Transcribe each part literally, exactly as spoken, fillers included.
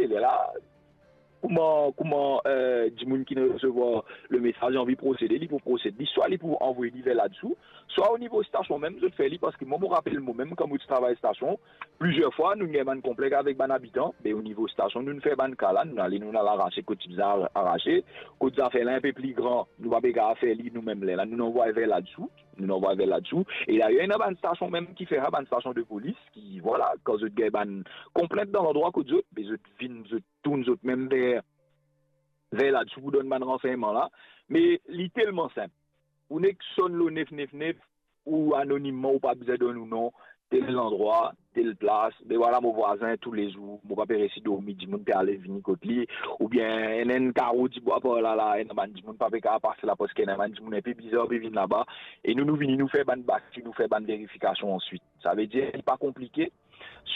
lerla, kouma, kouma, eh, dimoun ki resevwar le mesaz anvi prosede, li pou prosede li, swa li pou anvoy li ver ladisou, swa o nivo stasion mem, zot fer li, parski mwa, mo rapel mwa mem, kan mo ti travay stasion, plizier fwa, nou gagn bann konplek avek bann abitan, be o nivo stasion, nou fer bann ka la, nou ale, nou al arase kot ti bizin arase, kot zafer la inpe pli gran, nou pa pe kapav fer li nou mem, lerla, nou anvoy ver ladisou, nou anvoy ver ladisou. E dayer, ena bann stasion mem ki fer sa, bann stasion de polis, ki, vwala, kan zot gagn bann konplent dan landrwa kot zot, be zot vinn, zot tourn zot mem ver, ver ladisou pou donn bann ransegnman la. Me li telman sinp. Ou nek sonn lor nef nef nef, ou anonimman, ou pa bizin donn ou non, tel landrwa, tel plas, be vwala mo vwazin toulezour, mo pa pe resi dormi, dimoun pe ale vini kot li, oubien ena enn karo dibwa par la la, ena bann dimoun pa pe kapav pas la, parski ena bann dimoun inpe bizar pe vinn laba, e nou, nou vini, nou fer bann bak, nou fer bann verifikasion answit. Savedir, li pa konplike,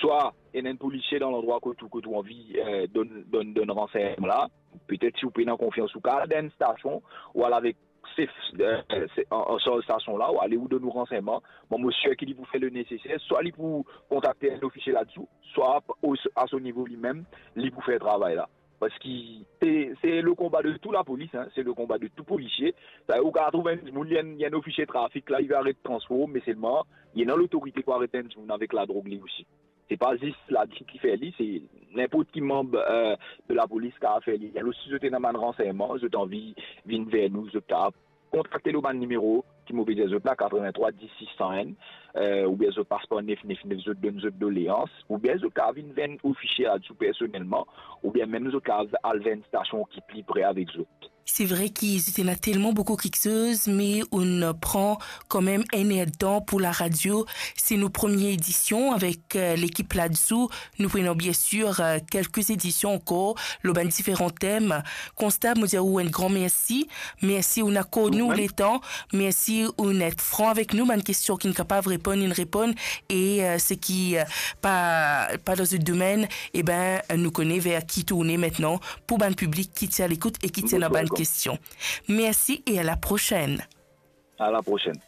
swa ena enn polisie dan landrwa kot ou, kot ou anvi, eh, donn, donn, donn ransegnman la, petet si ou pena konfians, ou kapav al dan enn stasion, ou al avek sef, eh, se-, an, an sarz stasion la, ou ale, ou donn ou ransegnman. Mwa, mo sir ki li pou fer le neseser, swa li pou kontakte enn ofisie ladisou, swa o, a so nivo limem, li pou fer travay la. Parski se, se le konba de tou lapolis, hein, se le konba de tou polisie. Sa, ou kapav trouv enn dimoun, li enn, li enn ofisie trafik la, li pe aret transpor, me selman, li ena lotorite pou aret enn dimoun avek ladrog li osi. Se pa zis ladisou ki fer li, se ninport ki manb, eh, de lapolis kapav fer li. Alor, si zot ena bann ransegnman, zot anvi vinn ver nou, zot kapav kontakte lor bann nimero ki mo pe dir zot la, katrevintrwa dis sis san enn, eh, oubien zot pas par nef nef nef, zot donn zot doleans, oubien zot kapav vinn ver enn ofisie ladisou personelman, oubien mem zot kapav al ver enn stasion ki pli pre avek zot. Se vre ki zot ena telman boukou kiksoz, me ou'nn pran kanmem enn er tan pou laradio. Se nou premie edision avek, eh, lekip ladisou. Nou pou ena biensir, eh, kelke edision ankor lor bann diferan tem. Konstab, mo dir ou enn gran mersi. Mersi ou'nn akord nou letan. Mersi ou'nn et fran avek nou. Bann kestion ki'nn kapav reponn, inn reponn. E, eh, seki, eh, pa, pa dan zot domenn, e ben, nou kone ver ki tourne aster pou bann piblik ki ti a lekout e ki ti ena bann kestion. Mersi e a la prosenn. A la prosenn.